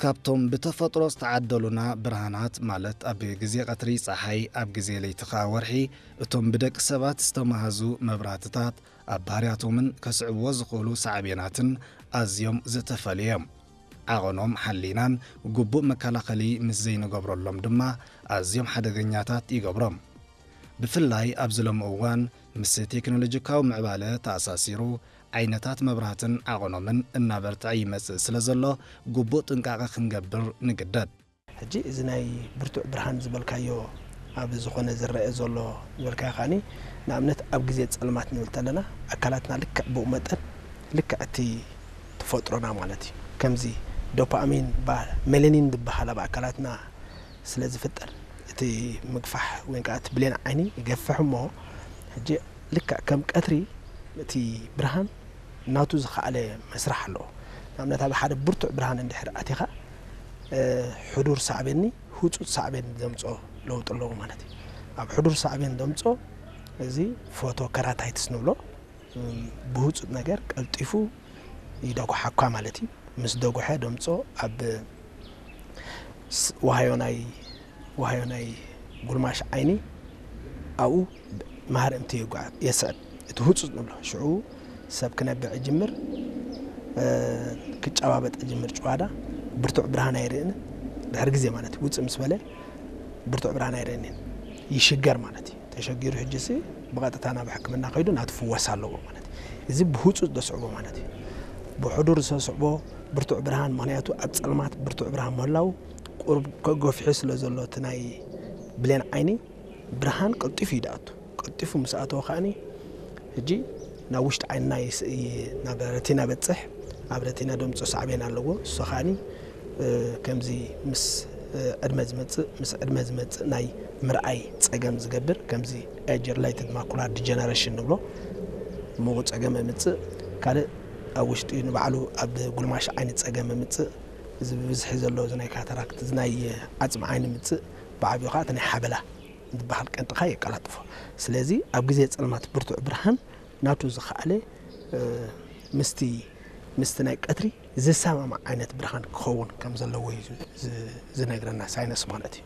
ካብቶም ብተፈጥሮ ዝተዓደሉና ብርሃናት፣ ማለት ኣብ ግዜ ቀትሪ ጸሓይ፣ ኣብ ግዜ ለይቲ ኸኣ ወርሒ፣ እቶም ብደቂ ሰባት ዝተማህዙ መብራህትታት፣ ኣብ ባህርያቶምን ከስዕብዎ ዝኽእሉ ሳዕቤናትን ኣዝዮም ዝተፈልዩ እዮም። ዓቐኖም ሓሊናን ግቡእ መከላኸሊ ምስ ዘይንገብረሎም ድማ ኣዝዮም ሓደገኛታት ይገብሮም። ብፍላይ ኣብዚ ሎሚ እዋን ምስ ቴክኖሎጂካዊ ምዕባለ ተኣሳሲሩ ዓይነታት መብራህትን ዓቐኖምን እናበርትዐ ይመጽእ ስለ ዘሎ ግቡእ ጥንቃቐ ክንገብር ንግደድ። ሕጂ እዚ ናይ ብርቱዕ ብርሃን ዝበልካዮ ኣብ ዝኾነ ዝረአ ዘሎ ዝበልካዮ ከኣኒ ንኣብነት ኣብ ግዜ ጸልማት ንብል ተለና ኣካላትና ልክዕ ብኡ መጠን ልክዕ እቲ ተፈጥሮና ማለት እዩ። ከምዚ ዶፓሚን ባ ሜላኒን ዝበሃል ኣብ ኣካላትና ስለ ዝፍጠር እቲ ምግፋሕ ወይ ከዓ እቲ ብሌን ዓይኒ ይገፍሕ እሞ ሕጂ ልክዕ ከም ቀትሪ እቲ ብርሃን ናቱ ዝኸኣለ መስርሕ ኣለዎ። ንኣብነት ኣብ ሓደ ብርቱዕ ብርሃን እንድሕር ኣቲኻ ሕዱር ሳዕቤኒ ህፁፅ ሳዕቤን ዘምፅኦ ለውጢ ኣለዎ ማለት እዩ። ኣብ ሕዱር ሳዕቤን ዘምፅኦ እዚ ፎቶ ከራታይትስ ንብሎ ብህፁፅ ነገር ቀልጢፉ ይደጉሓኳ ማለት እዩ። ምስ ደጉሐ ደምፆ ኣብ ዋሃዮ ናይ ዋሃዮ ናይ ጉልማሽ ዓይኒ ኣብኡ ማህርምቲ የስዕብ። እቲ ህፁፅ ንብሎ ሽዑ ሰብ ክነብዕ ይጅምር፣ ክጨባበጥ ይጅምር። ጭዋዳ ብርቱዕ ብርሃን ኣይርእን። ድሕሪ ግዜ ማለት ውፅእ ምስ በለ ብርቱዕ ብርሃን ኣይርእን ይሽገር ማለት እዩ። ተሸጊሩ ሕጂ ሲ ብቐጥታ ናብ ሕክምና ከይዱ ናቱ ፍወስ ኣለዎ ማለት እዩ። እዚ ብህፁፅ ዘስዕቦ ማለት እዩ። ብሕዱር ዘስዕቦ ብርቱዕ ብርሃን፣ ምኽንያቱ ኣብ ጸልማት ብርቱዕ ብርሃን ምህላው ቁሩብ ከገፍሑ ስለ ዘሎ እቲ ናይ ብሌን ዓይኒ ብርሃን ቀልጢፉ እዩ ዝኣቱ። ቀልጢፉ ምስ ኣተወ ከኣኒ ሕጂ ናብ ውሽጢ ዓይንና ይስ- ይ- ናብ ረቲና በጽሕ። ኣብ ረቲና ደምጾ ሳዕቤን ኣለዎ። እሱ ከኣኒ ከምዚ ምስ ዕድመ ዝመጽእ ምስ ዕድመ ዝመጽእ ናይ ምርኣይ ጸገም ዝገብር ከምዚ age related macular degeneration ንብሎ ምኡ ጸገም ምጽእ። ካልእ ኣብ ውሽጢ ንባዕሉ ኣብ ጉልማሽ ዓይኒ ጸገም ምጽእ። እዚ ብብዝሒ ዘሎ እዚ ናይ ካታራክት እዚ ናይ ዓጽሚ ዓይኒ ምጽእ ብዓብዩ ከዓ እቲ ናይ ሓበላ ዝበሃል ቀንጥኻ የቀላጥፎ። ስለዚ ኣብ ግዜ ጸልማት ብርቱዕ ብርሃን ናቱ ዝኸኣለ ምስቲ ምስቲ ናይ ቀትሪ ዝሰማማዕ ዓይነት ብርሃን ክኸውን ከም ዘለዎ እዩ ዝነግረና ሳይንስ ማለት እዩ።